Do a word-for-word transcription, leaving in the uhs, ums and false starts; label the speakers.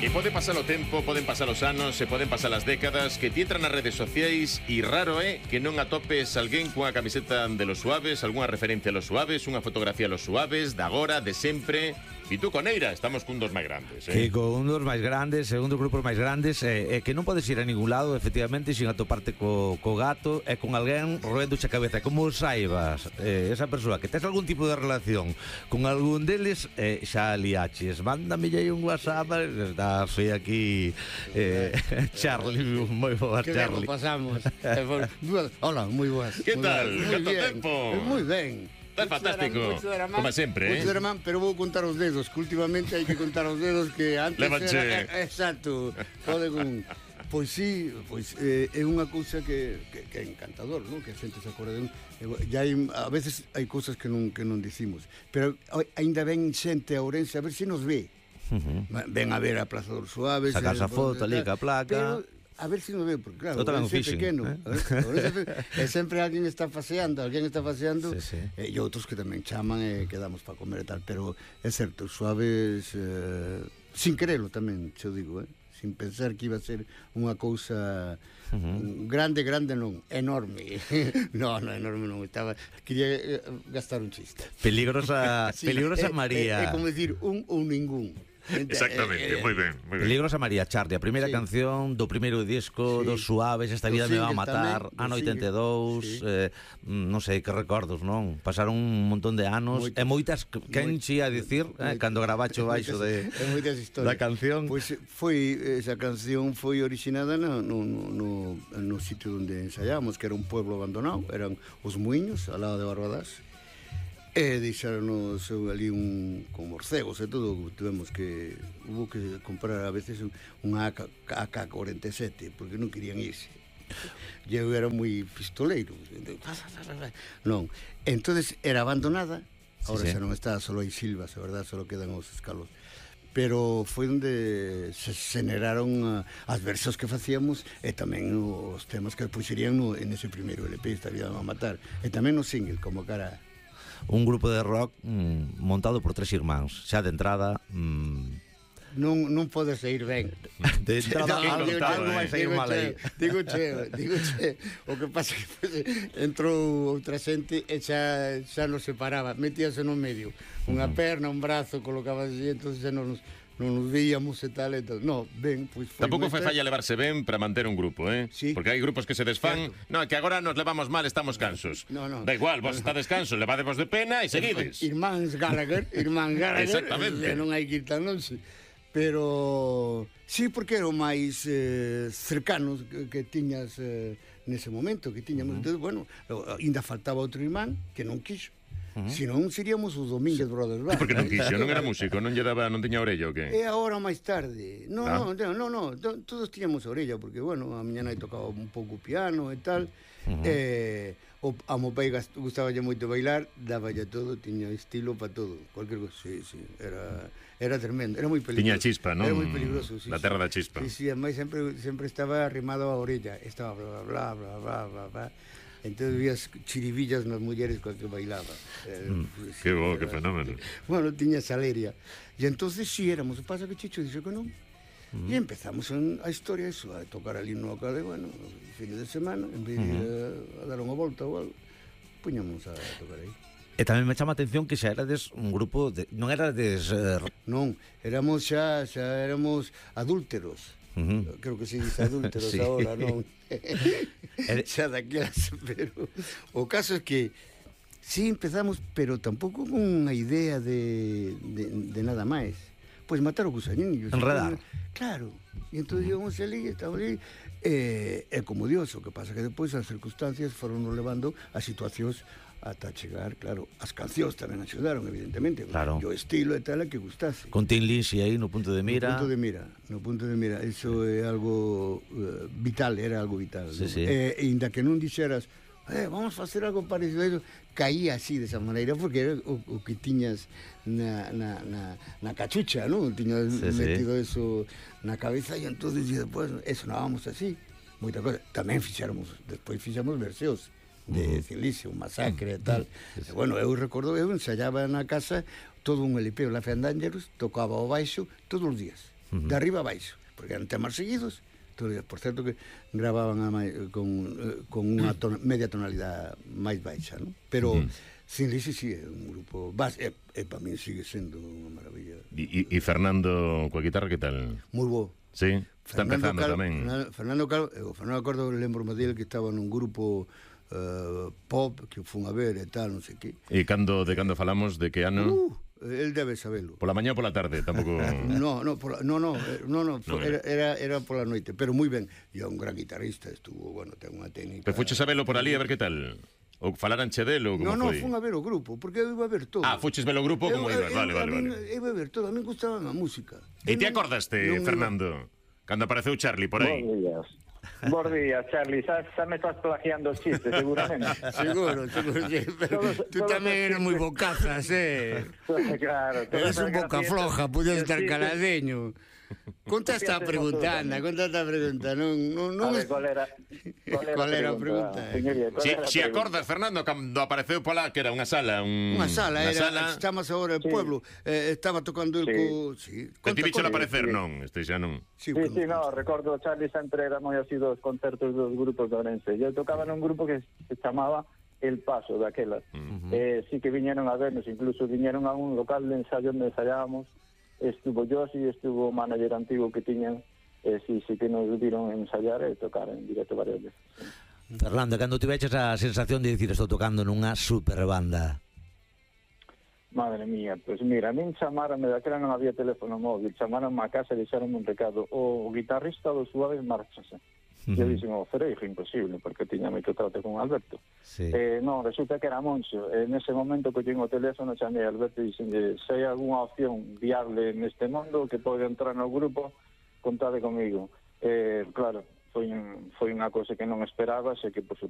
Speaker 1: Que pode pasar o tempo, poden pasar os anos, se poden pasar as décadas, que ti entran nas redes sociais e raro é que non atopes alguén cunha camiseta de Los Suaves, algunha referencia a Los Suaves, unha fotografía a Los Suaves, de agora, de sempre. E tú con Eira, estamos cun dos máis grandes, eh?
Speaker 2: Que con un dos máis grandes, un dos grupos máis grandes, e eh, eh, que non podes ir a ningún lado, efectivamente, sin atoparte co, co gato e con alguén roendoche a cabeza. Como saibas, eh, esa persoa que tes algún tipo de relación con algún deles, eh, xa liaches. Mándame aí un WhatsApp, está foi aquí eh, Charlie, moi boa Charlie.
Speaker 3: Que pasamos. Hola, moi boas.
Speaker 1: Que tal? Canto tempo?
Speaker 3: Moi ben.
Speaker 1: Está fantástico, como sempre, eh?
Speaker 3: Ramán, pero vou contar os dedos, que últimamente hai que contar os dedos, que antes
Speaker 1: Levanche.
Speaker 3: era... Exacto, pode con... Pois sí, pois eh, é unha cousa que, que, que é encantador, non? Que a xente se acorda de un... Ya hai, a veces hai cousas que non, que non dicimos, pero aínda ven xente a Ourense a ver se nos ve. Uh-huh. Ven a ver a Plaza dos Suaves,
Speaker 2: sacas a foto ali ca placa,
Speaker 3: pero a ver se nos ve, porque claro,
Speaker 2: é
Speaker 3: fishing, pequeno, eh? É sempre alguén está paseando, alguén está paseando, sí, sí. E, e outros que tamén chaman e quedamos para comer e tal, pero é certo, os Suaves, eh, sin querelo tamén, xo digo, eh? Sin pensar que iba a ser unha cousa uh-huh. grande, grande non, enorme. No, no, enorme non, estaba, quería gastar un chiste.
Speaker 2: Peligrosa, sí, peligrosa é, María.
Speaker 3: É, é como decir un ou ningún.
Speaker 1: Exactamente, eh, eh, moi ben, moi ben.
Speaker 2: Peligrosa María Charlie, a primeira sí. canción do primeiro disco, sí. dos Suaves, Esta vida me va a matar, tamén, ano oitenta e dous, sí. eh, non sei que recordos, non? Pasaron un montón de anos, moitas, e moitas, quen che a dicir, eh, cando gravacho baixo de da canción.
Speaker 3: Pois pues foi, esa canción foi originada no, no, no, no sitio onde ensaiamos, que era un pueblo abandonado, eran os Muiños, ao lado de Barbadás. E deixaronos ali un con morcegos e todo, tivemos que hubo que comprar a veces unha A K cuarenta e sete porque non querían irse. Eu era moi pistoleiro. Non, entonces era abandonada. Ahora sí, xa sí. non está, solo hai silvas, a verdad, solo quedan os escalos. Pero foi onde se generaron as versos que facíamos e tamén os temas que puxerían no, en ese primeiro L P, Esta vida me va a matar, e tamén no single, como cara.
Speaker 2: Un grupo de rock mm, montado por tres irmáns, xa de entrada mm...
Speaker 3: non, non pode sair ben.
Speaker 2: De entrada algo, algo vai sair mal aí.
Speaker 3: Digo che, digo che, o que pasa que pues, entrou outra xente e xa, xa nos separaba, metíase no medio, unha perna, un brazo, colocaba así, entón xa non nos non nos veíamos e tal, e tal. No, ben, pois foi
Speaker 1: tampouco foi falla levarse ben para manter un grupo, eh?
Speaker 3: Sí.
Speaker 1: Porque hai grupos que se desfán. No, que agora nos levamos mal, estamos cansos.
Speaker 3: No, no.
Speaker 1: Da igual, vos no, estades cansos, levadevos de pena e seguides.
Speaker 3: Irmáns Gallagher, irmán Gallagher.
Speaker 1: Exactamente.
Speaker 3: Non hai que ir tan longe. Pero sí, porque eran máis eh, cercanos que, que tiñas eh, nese momento, que tiñamos. Uh-huh. Entonces, bueno, ainda faltaba outro irmán que non quixo. Uh-huh. Si non, seríamos os Domínguez Brothers.
Speaker 1: E por que non quixo? Non era músico? Non lle daba, non tiña orella o que?
Speaker 3: E agora máis tarde. No,
Speaker 1: ah.
Speaker 3: no, no, no, todos tiñamos orella, porque, bueno, a miña nai tocaba un pouco piano e tal. Uh-huh. Eh, o, a mo pai gustaballe moito bailar, daballe todo, tiña estilo para todo, cualquier cosa. Sí, sí, era, era tremendo, era moi peligroso.
Speaker 1: Tiña chispa, non?
Speaker 3: Era moi peligroso, sí.
Speaker 1: La terra da chispa.
Speaker 3: Sí, sí, ademais sempre, sempre estaba arrimado a orella, estaba bla, bla, bla, bla, bla, bla. Entonces vías chiribillas nas mulleres coa que bailaba. Eh,
Speaker 1: mm,
Speaker 3: sí,
Speaker 1: que bo,
Speaker 3: era,
Speaker 1: que fenómeno.
Speaker 3: Bueno, tiña saleria. E entonces si sí, éramos, o pasa que Chicho dixo que non. Mm. E empezamos en, a historia eso, a tocar ali no acade, bueno, fin de semana, en vez de mm. a, a dar unha volta ou algo, puñamos a tocar aí.
Speaker 2: E tamén me chama a atención que xa erades un grupo de, non erades uh...
Speaker 3: non, éramos xa xa éramos adúlteros. Uh-huh. Creo que se dice adúlteros sí. Ahora, non? Xa daquelas, pero o caso é que sí empezamos, pero tampouco con unha idea de, de, de nada máis. Pois matar o gusaninho.
Speaker 2: Enredar.
Speaker 3: Claro. E entón íbamos ali, estamos ali, e, e como Dios, o que pasa que depois as circunstancias foron nos levando a situacións ata chegar, claro, as cancións tamén axudaron, evidentemente,
Speaker 2: claro.
Speaker 3: O estilo e tal é que gustase.
Speaker 2: Con Tin Lynch aí no punto de mira.
Speaker 3: No punto de mira, no punto de mira, iso é algo uh, vital, era algo vital.
Speaker 2: Sí,
Speaker 3: ¿no?
Speaker 2: sí.
Speaker 3: E eh, inda que non dixeras, eh, vamos facer algo parecido a eso, caía así desa maneira, porque era o, o que tiñas na, na, na, na cachucha, ¿no? Tiñas sí, metido sí. Eso na cabeza e entonces e despois, eso, non vamos así, moita cosa. Tamén fixáramos, despois fixamos verseos de Cilicio, un masacre e tal. E, bueno, eu recordo, eu ensayaba na casa todo un L P, o La Fandangerous, tocaba o baixo todos os días. de arriba a baixo, porque eran temas seguidos. Por certo que gravaban a mai, con, con unha ton, media tonalidade máis baixa, non? Pero uh-huh. Sin Lisi sí, é un grupo base, e, e para mí sigue sendo unha maravilla.
Speaker 1: E, e Fernando coa guitarra, que tal?
Speaker 3: Moi bo.
Speaker 1: Sí, está
Speaker 3: Fernando
Speaker 1: empezando
Speaker 3: Cal,
Speaker 1: tamén.
Speaker 3: Fernando Cal, o Fernando Acordo, lembro-me dele que estaba nun grupo uh, pop que fun a ver e tal, non sei que.
Speaker 1: E cando de cando falamos, de que ano?
Speaker 3: Uh, el debe sabelo.
Speaker 1: Pola mañá ou pola tarde, tampouco.
Speaker 3: No, no, por, no, no, no, no, no era, era era pola noite, pero moi ben. E é un gran guitarrista, estuvo, bueno, ten unha técnica.
Speaker 1: Pero fuches a velo por ali a ver que tal? Ou falaranche del ou como
Speaker 3: no, no,
Speaker 1: foi?
Speaker 3: No, no, fun a ver o grupo, porque eu iba a ver todo.
Speaker 1: Ah, fuches ver o grupo como ibas, vale, vale, vale.
Speaker 3: Eu iba a ver todo, a mí gustaba a música.
Speaker 1: E te acordaste, Fernando, cando apareceu Charlie por aí?
Speaker 4: Bos días. Bos días, Charlie, xa, xa me estás plagiando os chistes, seguramente.
Speaker 3: Seguro, seguro, sí, pero todos, tú todos tamén eres moi bocazas, eh?
Speaker 4: Claro.
Speaker 3: Eres un boca floja, pudes estar caladeño. Conta esta pregunta, anda, conta esta pregunta. Non, non, non
Speaker 4: a ver, qual era,
Speaker 3: qual era a pregunta?
Speaker 1: Si, si acordas, Fernando, cando apareceu pola, que era unha sala, un...
Speaker 3: Unha sala, era, sala... estamos agora en sí. Pueblo, eh, estaba tocando el sí. co... Sí.
Speaker 1: Te ti bicho aparecer, sí. non? Este xa non.
Speaker 4: Sí, sí, sí, no, recordo, Charlie sempre era moi así dos concertos dos grupos de Ourense. Eu tocaba nun grupo que se chamaba El Paso, daquelas. Uh -huh. Eh, sí que viñeron a vernos, incluso viñeron a un local de ensayo onde ensayábamos. Estuvo Josi, estuvo o manager antigo que tiñan, e eh, sí, sí que nos viron ensayar e tocar en directo varias veces. Sí.
Speaker 2: Fernando, cando tiveches a sensación de dicir estou tocando nunha super banda?
Speaker 4: Madre mía, pois pues mira, a min chamaronme, daquela non había teléfono móvil, chamaronme a casa e deixaronme un recado, o guitarrista do Suaves márchase. Uh -huh. Eu dixen, oh, pero é imposible, porque tiña moito trato con Alberto. Sí. Eh, non, resulta que era Moncho. En ese momento collín o teléfono, chamei a Alberto e dixen, se hai algunha opción viable neste mundo que pode entrar no grupo, contade comigo. Eh, claro, foi, un, foi unha cousa que non esperaba, sei que, por suposto,